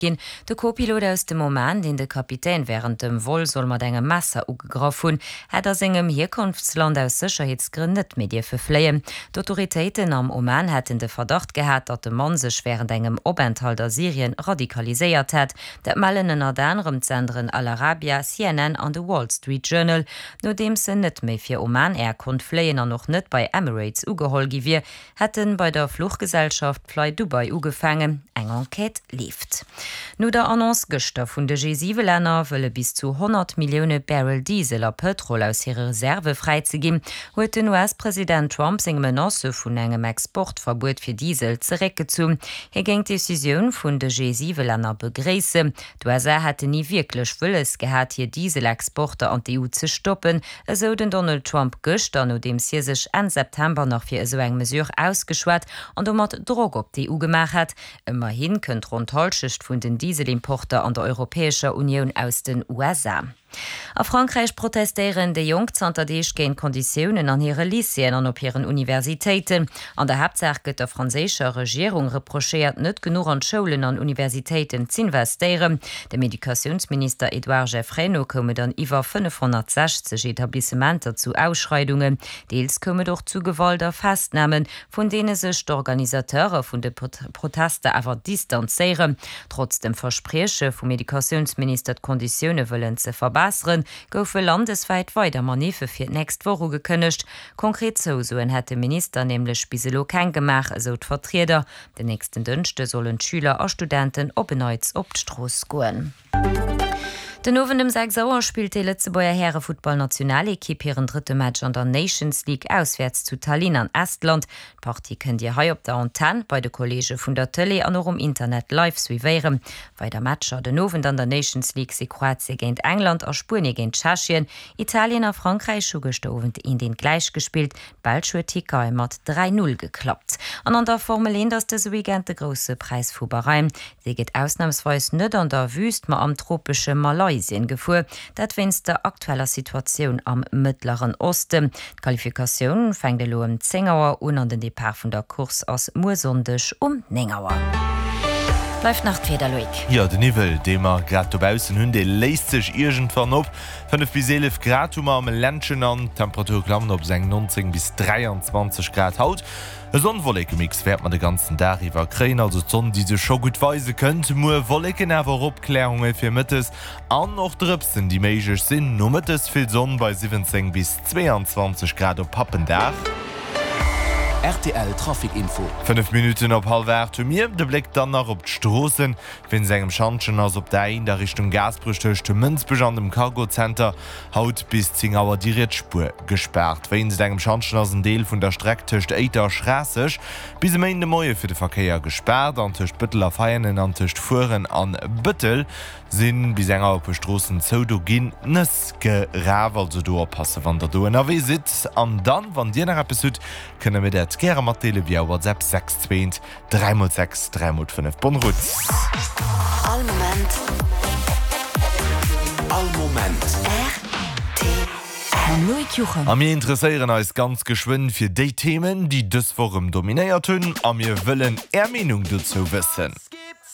Ginn. De Co-Pilot aus dem Oman, deen de Kapitän wärend dem Vol soll mat engem Messer ugegraff hunn, hätt a sengem Hierkonftsland aus Sécherheetsgrënn net méi dierfe fléien. D'Autoritéiten am Oman hätten de Verdacht gehat, datt de Mann sech wärend engem Openthalt a Syrien radikaliséiert hätt. Dat mellen ënnert anerem d'Senderen Al Arabia, CNN an de Wall Street Journal. Nodeems en net méi fir Oman Air konnt fléien an och net bei Emirates ugeholl gi wier, Hätt en bei der Fluchgesellschaft Flydubai ugefaangen. Eng Enquête leeft. No der Annonce gëschter vun de G7-Länner, wëlle bis zu 100 Millioune Barrel Diesel a Pëtrol aus hire Reserve fräizeginn, huet den US-President Trump seng Menacë vun engem Exportverbuet fir Diesel zeréckgezunn. Hie géing d'Decisioun vun de G7-Länner begréissen. D'USA hätten ni wierklech wëlles gehat, hir Dieselexporter an d'EU ze stoppen, esou den Donald Trump gëschter, nodeems hie sech Enn September nach fir esou eng Mesure ausgeschwat an domat Drock op d'EU gemaach hat. Ëmmerhi kënnt ronn d'Hallschecht vun den Dieselimporter an der Europäescher Unioun aus den USA. A Frankräich protestéieren déi Jonk zanter Deeg géint d'Konditiounen an hire Lycéeën an op hiren Universitéiten. An der Haaptsaach gëtt der franséischer Regierung reprochéiert, net genuch an d'Schoulen an Universitéiten z'investéieren. Dem Educatiounsminister Edouard Geffray no koum et an iwwer 560 Etablissementer zu Ausschreidungen. Deels koum et och zu Gewalt a Festnamen, vun deene sech d'Organisateure vun de Protester awer distanzéieren. Trotz dem Versprieche vum Educatiounsminister, d'Konditioune wëllen ze verbesseren, goufe landeswäit weider Maniffe fir d'nächst Woch ugekënnegt. Konkret Zousoen hätt de Minister nämlech bis elo keng gemaach, esou d'Vertrieder. Den nächsten Dënschde sollen d'Schüler a Studenten op en Neits op d'Strooss goen. Den Owend um 6 Auer spillt déi Lëtzebuerger Härefuttballnationalekipp hiren drëtte Match an der Nations League auswäerts zu Tallinn an Estland. D'Partie kënnt Dir hei op der Antenn, bei de Kolleege vun der Tëlee an och um Internet live suivéieren. Weider Matcher den Owend an der Nations League si Kroatie géint England a Spuenie géint Tschechien. Italien a Frankräich hu gëschter Owend eent eent gläich gespillt. D'Belsch huet d'Tierkei mat 3, 0 geklappt. An an der Formel 1 ass dëse Weekend de Grousse Präis vu Bahrain. Dee gëtt ausnamsweis net an der Wüüst, ma am tropesche Malaysien gefuer. Dat wéinst der aktueller Situatioun am Mëttleren Osten. D'Qualifikatioun fänkt elo ëm 10 Auer un an den Depart vun der Course ass muer Sonndeg um 9 Auer. Bleift nach d'Wieder, Loïc. Jo, de Niwwel, dee mer grad dobaussen hunn, dee léist sech iergendwann op. 5 bis 11 Grad hu mer am Ländchen an d'Temperature klammen op seng 19 bis 23 Grad haut. E Sonn-Wolleke-Mix wäerte mer de ganzen Dag iwwer kréien, also d'Sonn déi sech scho gutt weise kënnt. Muer Wolleken, awer och Opklärunge fir mëttes an och Drëpsen déi méiglech sinn. Nomëttes vill Sonn bei 17 bis 22 Grad op Pappendag. Rtl Trafic Info. 5 Minutten op hallwer 8 hu mir de Bléck dann nach op d'Stroossen. Wéinst engem Schantjen ass op der A1 a Richtung Gaasperech tëscht Mënsbech an dem Cargozenter haut bis 10 Auer déi riets Spuer gespaart. Wéinst engem Schantjen ass en Deel vun der Streck tëscht Éiter a Schraasseg bis e Méinden de Moie fir de Verkéier gespaart an tëscht Bëttel a Veianen an tëscht Fueren an Bëttel si bis eng Auer e puer Stroossen zou. Do ginn Nëss geraf, also do oppasse wann der do ënnerwee sidd. An dann, wann dir nach eppes hutt, kënnt der mir dat gäre matdeele via WhatsApp 6 2 3 mol 6, 3 mol 5. Bonne route! All Moment. All Moment. Rtl. Mam Loïc Juchem. A mir interesséieren eis ganz geschwënn fir déi Themen, déi dës Woch erëm dominéiert hunn a mir wëllen Är Meenung dozou wëssen.